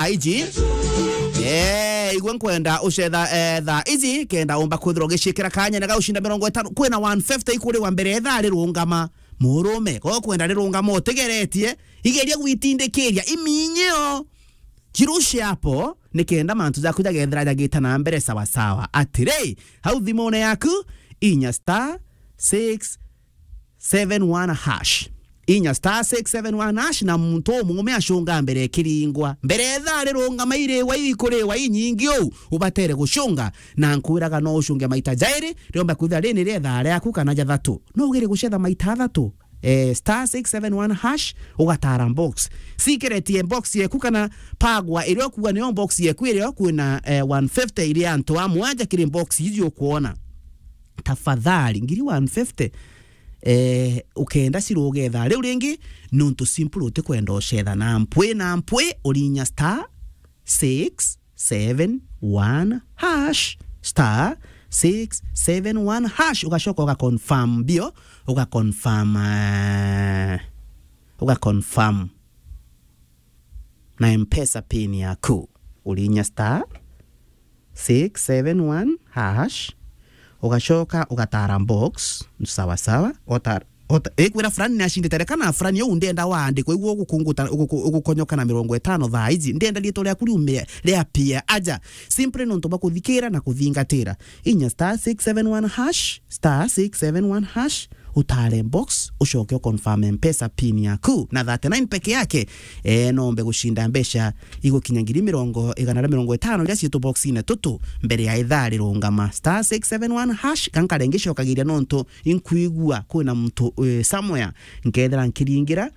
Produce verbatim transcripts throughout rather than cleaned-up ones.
aiji. Eh, igwe nkwenda ucetha, eh, thaa iji, kenda umba kwithirwa ugiciikira kanya na gaucinda mirongo itano, kwina one fifty ikuriwa mbere ya ithaa rirungama. Murume, ko kwenda rirungama utigeretie, igeria gwitindikiria iminyio. Kirushe hapo, nikenda mantu jaku jagethira jagita na mbere sawa sawa. Atiri, hau thimune yaku, inya star six seven one hash. Inya star six seven one hash, na muntu umume acunga mbere kiringwa. Mbere ya ithaa rirungama iriwa ikuriwa inyingi uu, ubatere gucunga. Na nkwiraga no ucunge maita jairi, riomba kwithira rini ria ithaa riaku kana jathatu. No ugere gucetha maita athatu. Eh, star six seven one hash, ugatara box. Sikeretie box yeku kana pagwa iria ukuga niyo box yeku iria kwina, eh, one fifty iria antu amwe aja kiri box iji ukuona. Tafadhali, ngiri one fifty, eh, ukenda ciruge thaa riu ringi, nuntu simple utikwenda ucetha na mpwi na mpwi, urinya star six seven one hash, star six seven one hash, ugacoka uga confirm bio, uga confirm, eh, uga confirm na M-Pesa pin yaku. Urinya star six seven one hash, ugacoka ugatara box, sawa sawa, ota, ota, ikwira fulani ni acindite, reka na fulani uu ndenda waandikwa, igua ugukunguta, uguku-, ugukonyoka na mirongo itano thaa iji, ndenda riitwa riaku riume ria pia aja, simply nontu bwa kuthikira na kuthingatira. Inya star six seven one hash, star six seven one hash, utare box, ucoke uconfirm M-Pesa pin yaku. Na thirty-nine peke yake, eh, nombe gucinda mbeca igukinya ngiri mirongo, igana ria mirongo itano iria ciitu boxine tutu mbere ya ithaa rirungama. Star six seven one hash, gankare ngicokagiria nontu inkwigua kwina muntu, eh, somewhere, nkethira nkiringira,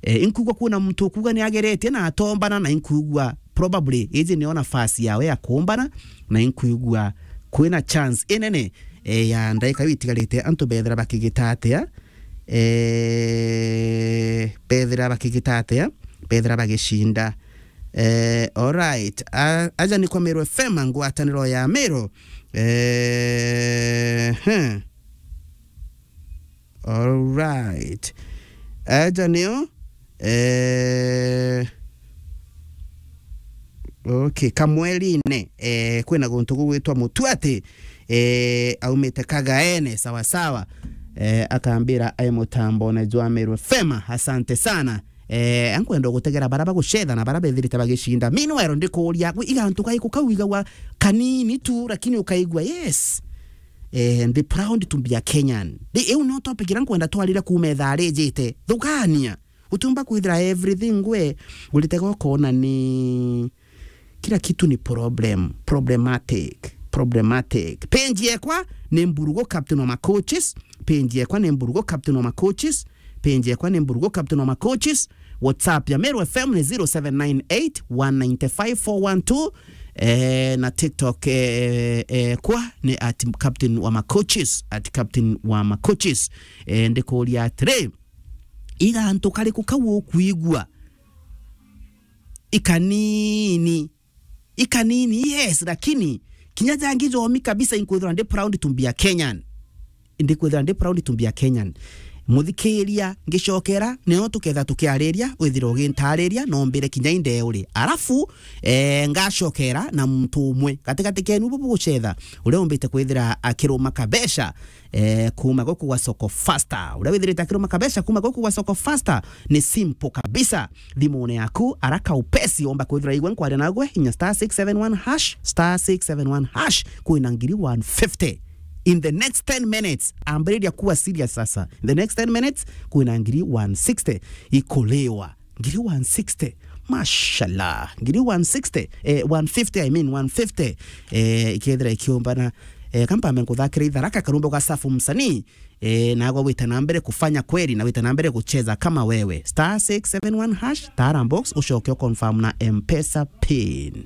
eh, inkwigua kwina muntu ukuga ni ageretie na atombana, na inkwigua probably iji niyo nafasi yawe ya kuumbana, na inkwigua kwina chance inene, eh, ya ndaika iu itigarite antu bethira bakigita atia, eh, bethira bakigita atia, bethira bagicinda. Eh, alright. A-, aja ni kwa Meru F M, ngwataniro ya Meru. Eh, he. Alright. Aja niyo, eh, okay, Kamwerine, eh, kwina guntu gugwitwa Mutuati, eh, aumite Kagaene, sawa sawa. Eh, akambira ai mutambone jwa Meru F M. Asante sana. Eh, ankwenda gutegera bara bagucetha na bara bethirite bagicinda. Meanwhile, ndikuuria, gwi igantu gaiku kau igagwa kanini tu, lakini ukaigua, yes. Eh, ndi proud to be a Kenyan. Ri, iu nio topic iria nkwenda twarire kuuma ithaa rijite. Thugania. Utiumba kwithira everything we uritega ukona ni kila kitu ni problem, problematic, problematic. Page yekwa ni Mburugo Captain wa Macoaches. Page yekwa ni Mburugo Captain wa Macoaches. Page yekwa ni Mburugo Captain wa Macoaches. WhatsApp ya Meru F M ni zero seven nine eight one nine five four one two. Eh, na TikTok, eh, eh, kwa ni at Captain wa Macoaches, at Captain wa Macoaches. Eh, ndikuuria atiri, igantu kariku kau ukwigua? Ikanini. Ikanini, yes, lakini kinya jangi jomi kabisa, inkwithirwa ndi proud to be a Kenyan. Ndikwithirwa ndi proud to be a Kenyan. Muthikiria, ngicokera, nio tuketha tukiariria, withire ugintariria, nombire kinya inde uri. Arafu, eh, ngacokera na muntu umwe gatigati kenu bubu gucetha, uria umbite kwithira akiruma kabeca, eh, kuma guku gwa Soko Faster. Uria withirite akiruma kabeca kuma guku gwa Soko Faster, ni simple kabisa. Thimune yaku, araka upesi, omba kwithira igwe nkwaria nagwe, inya star six seven one hash, star six seven one hash, kwina ngiri one fifty. In the next ten minutes, ambiriria kuwa serious sasa. In the next ten minutes, kwina ngiri one sixty ikuliwa. Ngiri one sixty. Mashallah. Ngiri one sixty. Eh, one fifty, I mean, one fifty. Eh, ikethira ikiumbana. Eh, kampambe nkuthakire itharaka karumbe gwa Safu msanii. Eh, nagwe wite na mbere kufanya kweli na wite na mbere kucheza kama wewe. Star six seven one hash, tara box, ucoke uconfirm na M-Pesa pin.